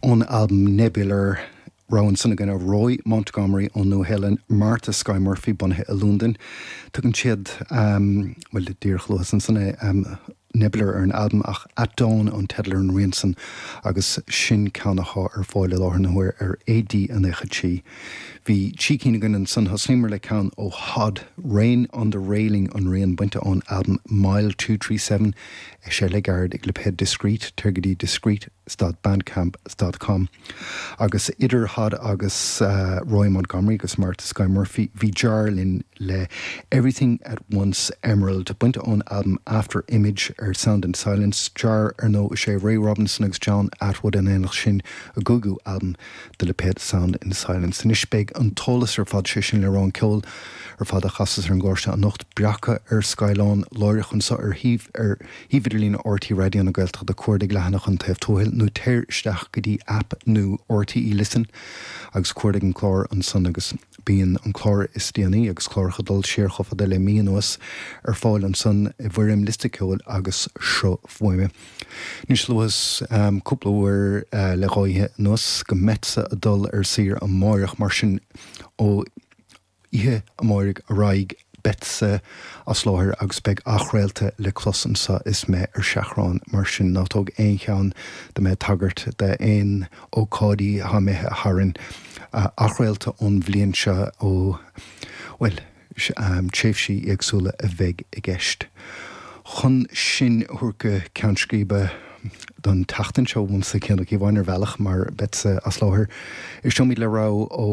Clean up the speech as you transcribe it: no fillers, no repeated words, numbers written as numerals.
Ón albam Nebular, rogha ansan againn ó Roy Montgomery ón Nua-Shéalainn, Martha Skye Murphy, bunaithe i Londain. Tugann siad, bhuel, díreach luas ansan é, Nebular ar an albam ach At Dawn an teideal ar an rian san agus sin ceann athá ar fáil i láthair na huaire ar AD 93. Bhí trí cinn againn ansan, thosnaíomar le ceann ó Hod, Rain on the Railing an rian bainte ón albam Mile 237, eisithe le gairid ag lipéad Discreet, téir go dtí Discreet dot bandcamp dot com. Agus idir Hod agus Roy Montgomery agus Martha Skye Murphy, bhí Jar linn le Everything at Once Emerald, bainte ón albam After Image ar Sound and Silence. Jar, ar ndóigh, is é Ray Robinson agus John Attwood in éineacht sin a gcúigiú albam do lipéad Sound and Silence. Anois beidh an t-eolas ar fad, sé sin le rá an ceol ar fad a chasfas ar an gclár seo anocht, breactha ar scáileán láithreach anseo ar shuíomh ar shuíomh idirlín RTÉ Raidió na Gaeltachta, cuardaigh leathanach An Taobh Tuathail nó téir isteach go dtí aip nua RTÉ Listen agus cuardaigh an clár ansan agus bíonn an clár is déanaí agus cláracha ag dul siar chomh fada le mí anuas ar fáil ansan i bhfoirm liosta ceoil agus sruth fuaime. Anois luas cúpla uair le dhá oíche anuas go mbeadsa ag dul ar saoire amáireach mar sin ó oíche amáirigh ar aghaidh beadsa as láthair agus beidh athchraolta le clos anso is mé ar seachrán, mar sin ná tóg aon cheann de mé ag tagairt d'aon ócáidí atá imithe tharainn, athchraolta ón bhliain seo ó, bhuel, tréimhsí éagsúla a bheidh i gceist. Chun sinn a thabhairt go ceann scríbe don tseachtain seo uaimse, Cian Ó Cíobháin, ar bhealach, mar beadsa as láthair, éisteoimid le rogha ó.